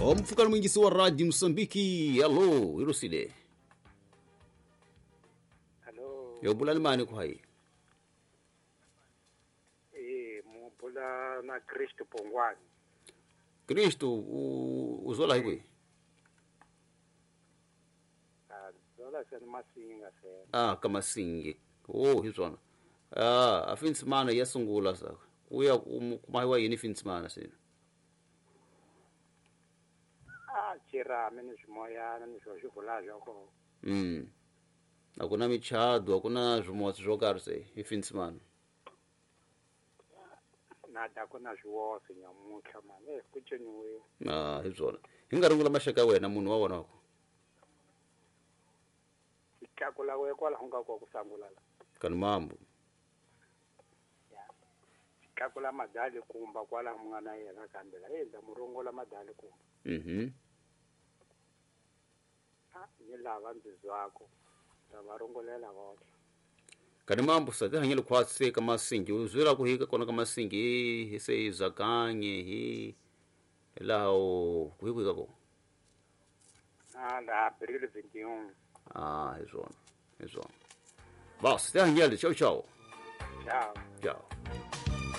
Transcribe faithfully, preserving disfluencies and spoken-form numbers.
O mpfukani mwingisi wa Radio Msambiki. Allo, Irusile. Allo. Yo bula mani ku hayi. Eh, mu bula na Kristo Pongwani. Kristo u uzola hi kwihi? Ah, zola sena Masinga sena. Ah, ka Masingi. Oh, hi swona. Ah, a Finsimana ya sungula sa. Ku ya kumahiwa yini Finsimana sena? Ah, chirame ni swimoyana ni swo swi vula swa kona. Mm. A ku na michado, a ku na swimotsi swo karhi se hi Finsimana. Na da ku na swiwosi nyamuntlha mani, eh, ku ciniwe. Ah, hi swona. Hi nga rungula maxaka ya wena munhu wa wona wa ko. Tlakula we kwalaho nga ko ku sangula la. Kani mambo. Ya. Tlakula madali kumba kwalaho mu nga na yena kambe la endla murungulo madali kumba. Mhm. Ah, ni lava ndzi zwako. Ta va rungulela vona. Kani mambo sa tihanyelo khwatsi ka Masingi u zwela ku hika kona ka Masingi hi se hi zakanye hi laha u ku hi ka ko. Ah, la abril veintiuno. Ah, hi swona. Hi swona. Bas, tihanyelo ciao ciao. Ciao. Ciao.